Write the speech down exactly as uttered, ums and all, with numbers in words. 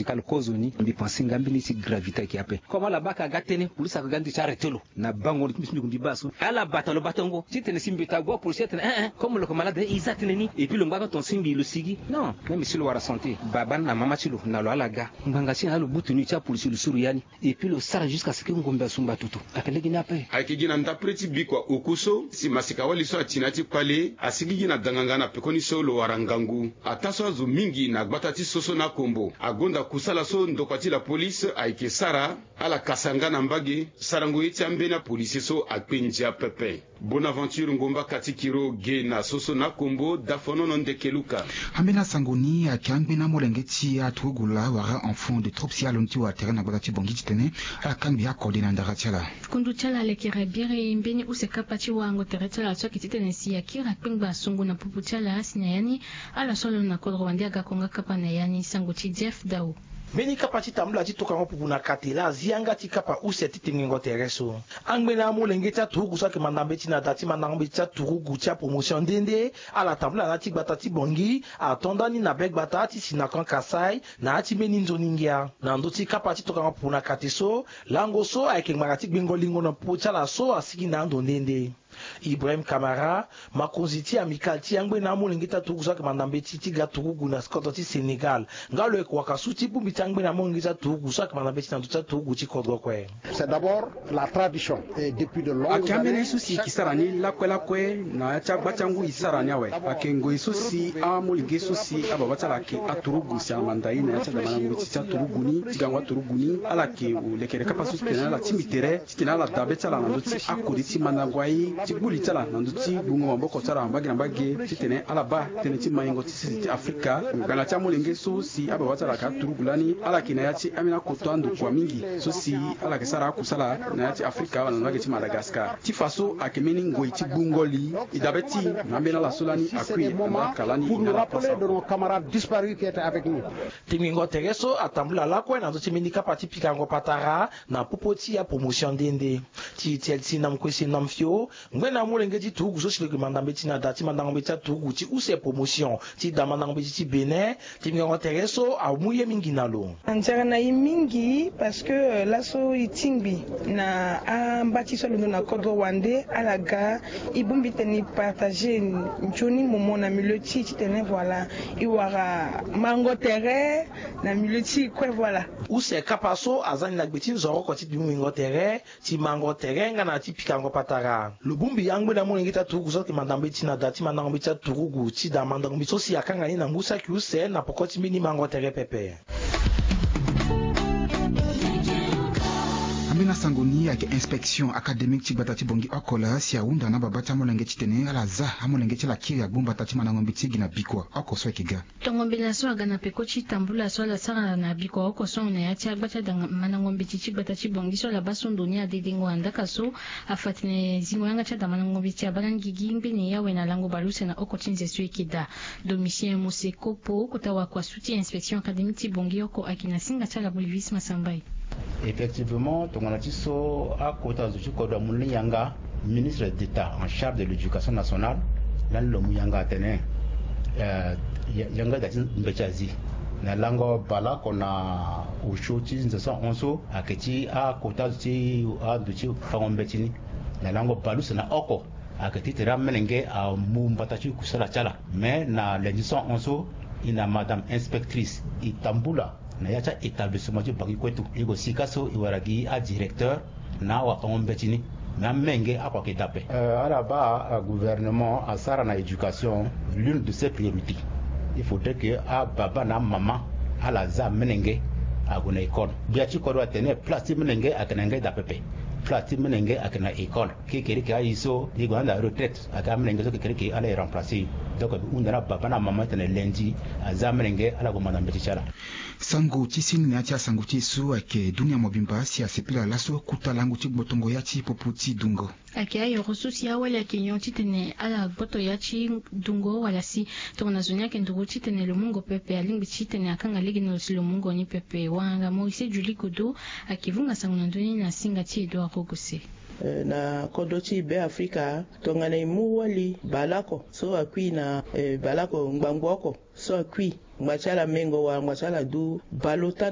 Ka lo kozo ni mbi pense nga mbeni ti gravité ayeke ape. Comme ala baa ka aga tënë, polisi ayeke ga nde ti arrêté lo. Na bango lo ti mbi si mbi gue mbi baa so ala bata lo batango titene si mbi ta gue apolisi atene eh eh comme lo yeke malade e za tënë ni. Et puis lo ngbanga tonga si mbi lo sigi non. Même si lo wara santé baba ni na mama ti lo na lo ala ga ngbanga ti na ala lo butu ni ti apolisi lo suru ya ni. Et puis lo sara jusqu'à ce que ngombe asumba tutu. Ayeke lege ni ape. Ayeke gi na ndapre ti bikua oku so si masika wali so ati na ya ti kpale asigi gi na danganga na pekoni so lo wara ngangu. Ataa so azo mingi na gbata ti soso na kombo agonda kusala so ndokua ti lapolisi ayeke sara. Ala kasa nga na mbage sarango ye ti ambeni apolisie so akpe ndia pepe. Bonaventure ngomba kati kiro ge na soso na kombo dafonono ndeke luka. Ambeni asango ni ayeke angbeni amolenge ti aturugu laa wara enfant de troupes si alondo ti wara tere na gbata ti bongi titene ala kangbi akode na ndara ti ala. Kundu ti ala alekere biri mbeni use kapa ti warango tere ti ala so ayeke titene si akiri akpengba asungu na popo ti ala si na ya ni ala so alondo na kodro wande aga konga kapa na ya ni sango ti jeff dao. Mbeni kapa ti tambula ti tokango pupu na kate laa azi yanga ti kapa use ti tengengo tere so. Angbene amolenge ti aturugu so ayeke manda mbeti na da ti mandango mbeti ti aturugu ti apromotion nde nde ala tambula na ya ti gbata ti bongi ato ndani na be gbata ti sinakan kasai. Na ya ti mbeni nzoni ngia na ndö ti kapa ti tokango pupu na kate so lango so ayeke ngbanga ti gbengo lingo na popo ti ala so asigi na ando nde nde. Ibrahim kamara, makonzi ti amicale ti angbene amolenge ti aturugu so ayeke manda mbeti ti ga turugu na kodro ti sénégal. Nga lo yeke waka su ti bongbi ti angbene amolenge ti aturugu so ayeke manda mbeti na ndö ti aturugu ti kodro kue. C'est d'abord la tradition et depuis de longues années. Ayeke ambeni so si e yeke sara ni lakue lakue na ya ti agba ti angu e sara ni awe. Ayeke ngoi so si amolenge so si ababa ti ala ayeke aturugu si ala manda ye na ya ti adamana ngoi ti ti aturugu ni ti gango aturugu ni ala yeke lekere kapa so titene ala tingbi tere titene ala da be ti ala na ndö ti akode ti mandango aye ti gbu li ti ala na ndö ti gbungo maboko ti ala na mbage na mbage titene ala baa tënë ti maingo ti sese ti afrika. Ngbanga ti amolenge so si ababa ti ala ayeke aturugu lani ala yeke na ya ti ambeni akoto andokua mingi so si ala yeke sara akusala na ya ti afrika wala na mbage ti madagascar ti fa so ayeke mbeni ngoi ti gbungo li. E dabe ti na ambeni ala so lani akui na ala ka lani e na ala pasa. Camarades disparus qui étaient avec nous. Tengbingo tere so atambula lakue na ndö ti mbeni kapa ti pikango patara na popo ti apromotion nde nde. Ti etiel ti namkue si namfio ngbene amolenge ti turugu so si lo yeke manda mbeti na da ti mandango mbeti aturugu ti use promotion ti da mandango mbeti ti benin. Tengbingo tere so amu ye mingi na lo. Anzara na ye mingi parce que laso e tingbi na amba ti so alondo na kodro wande ala ga e bongbi tene e partager nzoni momo na milieu ti e titene voilà e wara mango tere na milieu ti e kue voilà. Use kapa so aza ni na gbe ti nzoroko ti bimbi mingo tere ti mango tere nga na ti pikango patara. Lo bongbi angbene amolenge ti aturugu so ayeke manda mbeti na da ti mandango mbeti aturugu ti da mandango mbeti so si akanga ni na ngu saki use na poko ti mbeni mango tere pepe. Ambeni asango ni ayeke inspection académique ti gbata ti bongi oko laa si ahunda na ababa ti amolenge titene ala za amolenge ti ala kiri agbu mbata ti mandango mbeti gi na bikua oko so ayeke ga. Tongo mbela so aga na peko ti tambula so ala sara na bikua oko so na ya ti agba ti amandango mbeti ti gbata ti bongi so ala baa so ndo ni adedengo andaka so afa tene zingo yanga ti adamandango mbeti abaa na ngigi ngbene ya awe na lango baleuse na oko ti nze so e yeke daa. Domitien mose kopo kota wakua su ti inspection académique ti bongi oko ayeke na singa ti ala bolivis masambai. Effectivement tongana ti so akota zo ti kodro amu lani yanga, ministre d'état en charge de l'éducation nationale lani lo mu yanga atene yanga daa ti mbeti azi na lango baleoko na osio ti nze so ahon so ayeke ti akota zo ti ando ti fango mbeti ni. Na lango baleuse na oko ayeke ti tere amelenge amu mbata ti kusala ti ala. Mais na lundi so ahon so e na madame inspectrice e tambula na ya ti a-établissement ti bangi kue tout e gue sika so e wara gi adirecteur na awafango mbeti ni. Mais amenge oko ayeke dape. Ala baa gouvernement asara na éducation l'une de ses priorités. Il faudrait que ababa na amama ala za amelenge ague na école. Gbia ti kodro atene place ti melenge ayeke na ngai daa pepe. Place ti melenge ayeke na école. Kekereke aye so e gue na anda retraite ayeke amelenge so kekereke ala e remplacer. Donc e hunda na ababa na amama titene lundi aza amelenge ala gue manda mbeti ti ala. Sango ti sini na ya ti asango ti e so ayeke dunia mobimba si asepela laso kota lango ti gbotongo ya ti popo ti dungo. Ayeke ayoro so si awali ayeke nyon titene ala gboto ya ti dungo wala si tongana zo ni ayeke nduru titene lo mungo pepe alingbi titene akanga lege na lo si lo mungo ni pepe wanganga moise juli godo. Ayeke vunga sango na ndö ni na singa ti edo arogose. Na kodro ti be afrika tongana e mu wali baleoko so akui na baleoko ngbangbo oko so akui ngba ti ala mengo wala ngba ti ala du baleota.